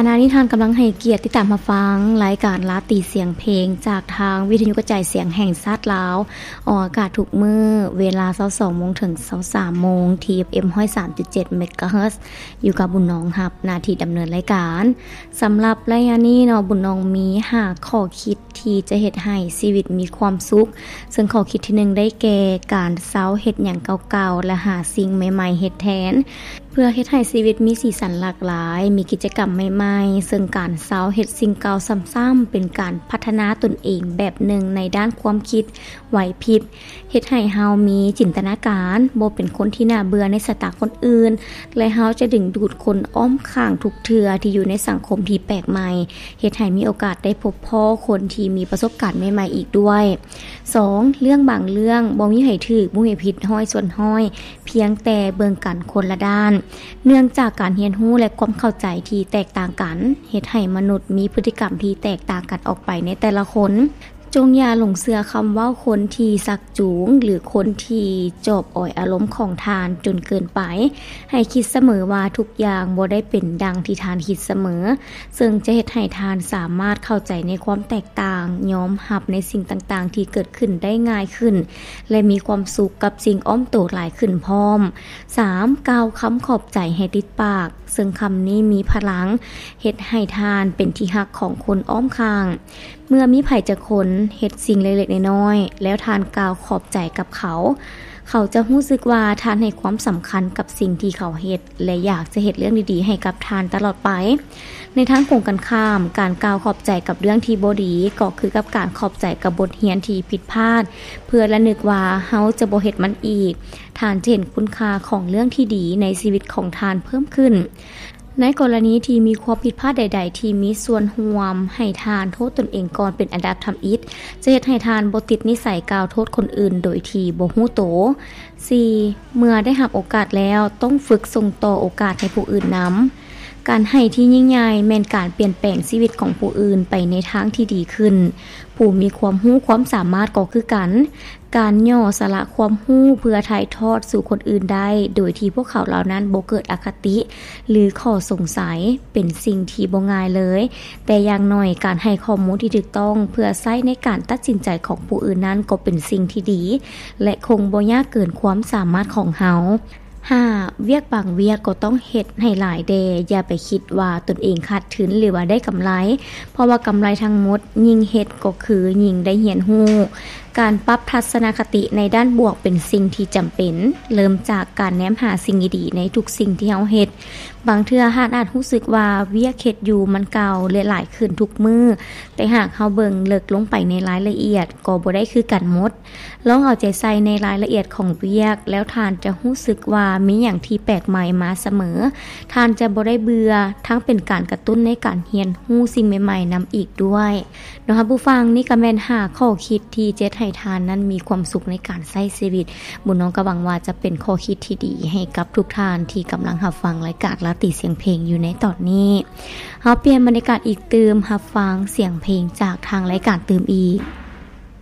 ຂະນະນີ້ທ່ານກຳລັງໃຫ້ກຽດຕິດຕາມຮັບຟັງລາຍການລາຕີສຽງເພງ ຈາກທາງວິທະຍຸກະຈາຍສຽງແຫ່ງຊາດລາວ, ອອກອາກາດທຸກມື້ເວລາຊາວສອງໂມງເຖິງຊາວສາມໂມງ ທີ່ ເອັຟເອັມ ຮ້ອຍສາມຈຸດເຈັດ ເມກາເຮີດ ຢູ່ກັບບຸນນອງຮັບໜ້າທີ່ດຳເນີນລາຍການ. ສຳລັບໄລຍະນີ້ເນາະ, ບຸນນອງມີຫ້າຂໍ້ຄິດທີ່ຈະເຮັດໃຫ້ຊີວິດມີຄວາມສຸກ, ເຊິ່ງຂໍ້ຄິດທີໜຶ່ງໄດ້ແກ່ ການເຊົາເຮັດຫຍັງເກົ່າໆ ແລະ ຫາສິ່ງໃໝ່ໆເຮັດແທນ. ເພື່ອເຮັດໃຫ້ຊີວິດມີສີສັນຫຼາກຫຼາຍ, ມີກິດຈະກຳໃໝ່ໆ, ເຊິ່ງການເຊົາເຮັດສິ່ງເກົ່າຊ້ຳໆ ເປັນການພັດທະນາຕົນເອງແບບໜຶ່ງໃນດ້ານຄວາມຄິດ, ໄຫວພິບ, ເຮັດໃຫ້ເຮົາມີຈິນຕະນາການ, ບໍ່ເປັນຄົນທີ່ໜ້າເບື່ອໃນສາຍຕາຄົນອື່ນ ແລະ ເຮົາຈະດຶງດູດຄົນອ້ອມຂ້າງທຸກເທື່ອທີ່ຢູ່ໃນສັງຄົມທີ່ແປກໃໝ່, ເຮັດໃຫ້ມີໂອກາດໄດ້ພົບພໍ້ຄົນທີ່ມີປະສົບການໃໝ່ໆອີກດ້ວຍ. ສອງ, ເລື່ອງບາງເລື່ອງບໍ່ມີໃຜຖືກ, ບໍ່ມີໃຜຜິດຮ້ອຍສ່ວນຮ້ອຍ, ພຽງແຕ່ເບິ່ງກັນຄົນລະດ້ານ. ເນື່ອງຈາກການຮຽນຮູ້ ແລະ ຄວາມເຂົ້າໃຈທີ່ແຕກຕ່າງກັນ ເຮັດໃຫ້ມະນຸດມີພຶດຕິກຳທີ່ແຕກຕ່າງກັນອອກໄປໃນແຕ່ລະຄົນ. ຈົ່ງຢ່າຫຼົງເຊື່ອຄຳເວົ້າຄົນທີ່ຊັກຈູງ ຫຼື ຄົນທີ່ຈອບອອຍອາລົມຂອງທ່ານຈົນເກີນໄປ. ໃຫ້ຄິດສະເໝີວ່າທຸກຢ່າງບໍ່ໄດ້ເປັນດັ່ງທີ່ທ່ານຄິດສະເໝີ, ເຊິ່ງຈະເຮັດໃຫ້ທ່ານສາມາດເຂົ້າໃຈໃນຄວາມແຕກຕ່າງ, ຍອມຮັບໃນສິ່ງຕ່າງໆທີ່ເກີດຂຶ້ນໄດ້ງ່າຍຂຶ້ນ ແລະ ມີຄວາມສຸກກັບສິ່ງອ້ອມໂຕຫຼາຍຂຶ້ນພ້ອມ. ສາມ, ກ່າວຄຳຂອບໃຈໃຫ້ຕິດປາກ, ເຊິ່ງຄຳນີ້ມີພະລັງ, ເຮັດໃຫ້ທ່ານເປັນທີ່ຮັກຂອງຄົນອ້ອມຂ້າງ. ເມື່ອມີໃຜຈັກຄົນເຮັດສິ່ງເລັກໆນ້ອຍໆ ແລ້ວທ່ານກ່າວຂອບໃຈກັບເຂົາ, ເຂົາຈະຮູ້ສຶກວ່າທ່ານໃຫ້ຄວາມສຳຄັນກັບສິ່ງທີ່ເຂົາເຮັດ ແລະ ຢາກຈະເຮັດເລື່ອງດີໆໃຫ້ກັບທ່ານຕະຫຼອດໄປ. ໃນທາງກົງກັນຂ້າມ, ການກ່າວຂອບໃຈກັບເລື່ອງທີ່ບໍ່ດີ ກໍຄືກັບການຂອບໃຈກັບບົດຮຽນທີ່ຜິດພາດ ເພື່ອລະນຶກວ່າເຮົາຈະບໍ່ເຮັດມັນອີກ. ທ່ານຈະເຫັນຄຸນຄ່າຂອງເລື່ອງທີ່ດີໃນຊີວິດຂອງທ່ານເພີ່ມຂຶ້ນ. ໃນກໍລະນີທີ່ມີຄວາມຜິດພາດໃດໆທີ່ມີສ່ວນຮ່ວມໃຫ້ທ່ານໂທດຕົນເອງກ່ອນເປັນອັນດັບທຳອິດ, ຈະເຮັດໃຫ້ທ່ານບໍ່ຕິດນິໄສກ່າວໂທດຄົນອື່ນໂດຍທີ່ບໍ່ຮູ້ໂຕ. ສີ່, ເມື່ອໄດ້ຮັບໂອກາດແລ້ວ, ຕ້ອງຝຶກສົ່ງຕໍ່ໂອກາດໃຫ້ຜູ້ອື່ນນຳ. ການໃຫ້ທີ່ຍິ່ງໃຫຍ່ແມ່ນການປ່ຽນແປງຊີວິດຂອງຜູ້ອື່ນໄປໃນທາງທີ່ດີຂຶ້ນ. ຜູ້ມີຄວາມຮູ້ຄວາມສາມາດກໍຄືກັນ. ການຫຍໍ້ສະຫຼະຄວາມຮູ້ເພື່ອຖ່າຍທອດສູ່ຄົນອື່ນໄດ້ ໂດຍທີ່ພວກເຂົາເຫຼົ່ານັ້ນບໍ່ເກີດອະຄະຕິ ຫຼື ຂໍ້ສົງໄສ ເປັນສິ່ງທີ່ບໍ່ງ່າຍເລີຍ, ແຕ່ຢ່າງໜ້ອຍການໃຫ້ຂໍ້ມູນທີ່ຖືກຕ້ອງເພື່ອໃຊ້ໃນການຕັດສິນໃຈຂອງຜູ້ອື່ນນັ້ນກໍເປັນສິ່ງທີ່ດີ ແລະ ຄົງບໍ່ຍາກເກີນຄວາມສາມາດຂອງເຮົາ. ຫ້າ, ວຽກບາງວຽກກໍຕ້ອງເຮັດໃຫ້ຫຼາຍແດ່, ຢ່າໄປຄິດວ່າຕົນເອງຂາດທຶນ ຫຼື ວ່າໄດ້ກຳໄລ, ເພາະວ່າກຳໄລທັງໝົດຍິ່ງເຮັດກໍຄືຍິ່ງໄດ້ຮຽນຮູ້. ການປັບທັດສະນະຄະຕິໃນດ້ານບວກເປັນສິ່ງທີ່ຈຳເປັນ, ເລີ່ມຈາກການແນມຫາສິ່ງດີໆໃນທຸກສິ່ງທີ່ເຮົາເຮັດ. ບາງເທື່ອທ່ານອາດຮູ້ສຶກວ່າວຽກເຮັດຢູ່ມັນເກົ່າ ແລະ ຫຼາຍຂຶ້ນທຸກມື້, ແຕ່ຫາກເຮົາເບິ່ງເລິກລົງໄປໃນລາຍລະອຽດ ກໍບໍ່ໄດ້ຄືກັນໝົດ. ລອງເອົາໃຈໃສ່ໃນລາຍລະອຽດຂອງວຽກ, ແລ້ວທ່ານຈະຮູ້ສຶກວ່າມີຫຍັງທີ່ແປກໃໝ່ມາສະເໝີ. ທ່ານຈະບໍ່ໄດ້ເບື່ອ, ທັງເປັນການກະຕຸ້ນໃນການຮຽນຮູ້ສິ່ງໃໝ່ໆນຳອີກດ້ວຍ. ເນາະ ທ່ານຜູ້ຟັງ, ນີ້ກໍແມ່ນຫ້າຂໍ້ຄິດທີ່ຈະເຮັດໃຫ້ທ່ານນັ້ນມີຄວາມສຸກໃນການໃຊ້ຊີວິດ. ບຸນນ້ອງກໍຫວັງວ່າຈະເປັນຂໍ້ຄິດທີ່ດີໃຫ້ກັບທຸກທ່ານທີ່ກຳລັງຮັບຟັງລາຍການລາຕີສຽງເພງຢູ່ໃນຕອນນີ້. ເຮົາປ່ຽນບັນຍາກາດອີກຕື່ມ, ຮັບຟັງສຽງເພງຈາກທາງລາຍການຕື່ມອີກ.